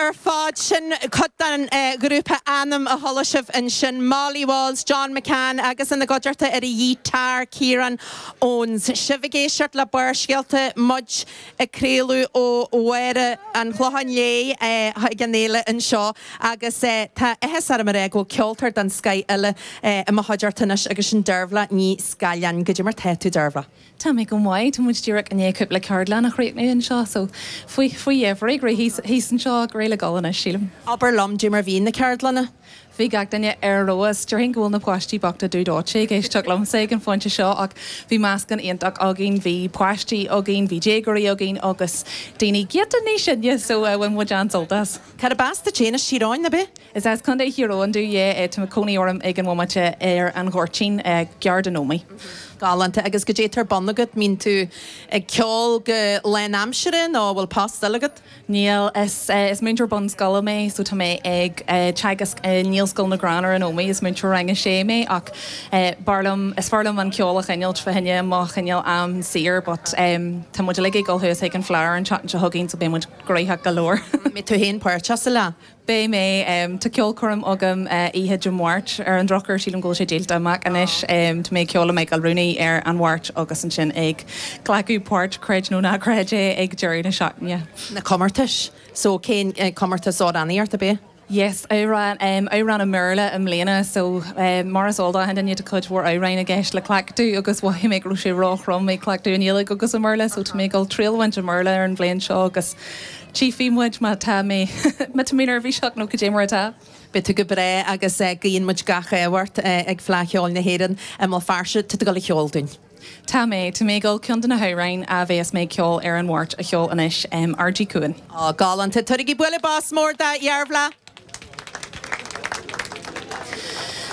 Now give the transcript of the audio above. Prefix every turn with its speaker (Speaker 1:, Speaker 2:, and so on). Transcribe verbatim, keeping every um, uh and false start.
Speaker 1: ar fad sin cuid den ghrúpa Anam a chuala sibh ansin Molly Walls, John McCann agus ina gcuideachta ar an ghiotár Ciarán Owens. Sibh ag éisteacht le Barrscéalta muid ag craoladh ó Bhaile an Chlocháin Léith ag an fhéile anseo agus tá áthas orm a rá go bhfuil ceoltóir den scoth eile i mo chuideachta anois agus sin Dearbhla Ní Scaileáin goidé mar tá tú Dearbhla.
Speaker 2: Tá mé go maith tá muid díreach i ndiaidh cúpla ceardlann a chríochnú anseo so faoi faoi dheifir thíos anseo go réidh le dul anois sílim.
Speaker 1: Abair liom goidé mar bhí na ceardlanna?
Speaker 2: Bhí gach duine ar fheabhas Déarfainn go bhfuil na páistí bochta dubh dóite ag éisteacht liomsa ag an phointe seo ach bhí meascán iontach againn, bhí páistí againn, bhí déagóirí againn agus daoine giota níos sine so bhain muid an-sult as.
Speaker 1: Cárb as duit féin as Tír Eoghain ab ea?
Speaker 2: Is as Contae Thír Eoghain domh tá cónaí orm ag an bhomaite ar an Ghoirtín gar don Ómaigh.
Speaker 1: Galánta agus goidé atá ar bun agat mbíonn tú ag ceol go lánaimseartha nó bhfuil post eile agat?
Speaker 2: Níl is is múinteoir bunscoile mé so tá mé ag teagasc i nGaelscoil na gCrann ar an Ómaigh is múinteoir rang a sé mé ach b'fhearr liom is fearr liom an ceol a choinneáil fá choinne mo chineál am saor but um, tá muid ag dul thuas ag an Fleadh an tseachtain seo chugainn so beidh muid gnóthach go leor.
Speaker 1: Mbeidh tú féin páirteach sa fhleadh.
Speaker 2: Beidh mé um, tá ceolchoirm agam uh, oíche Dé Máirt ar an drochuair sílim go bhfuil sé díolta amach anois um, Tá mé ag ceol le Michael Rooney ar an Mháirt agus ansin ag glacadh páirt creid nó ná creid é ag deireadh na seachtaine.
Speaker 1: Na comórtais so cén eh, comórtas amhránaíochta ab ea?
Speaker 2: Yes, amhrán um, amhrán i mBéarla i mbliana so um, mar is eol duine tá cuid mhór amhráin i gceist le cleachtadh agus mhothaigh mé go raibh sé róthrom ag cleachtadh i nGaeilge agus i mBéarla, so tá mé ag dul triail a bhaint i mBéarla ar an bhliain seo agus tchífidh muid má tá mé má tá mé neirbhíseach nó goidé mar atá.
Speaker 1: Beidh tú go breá agus guíonn muid gach ádh ort ag Fleadh Cheoil na hÉireann i mBéal Feirste tá tú ag dul a cheol dúinn.
Speaker 2: Tá mé tá mé ag dul ceann de na hamhráin a bheas mé ag ceol ar an Mháirt a cheol anois um, R G Cuan.
Speaker 1: Á galánta tabhair bualadh bos mór do Dhearbhla.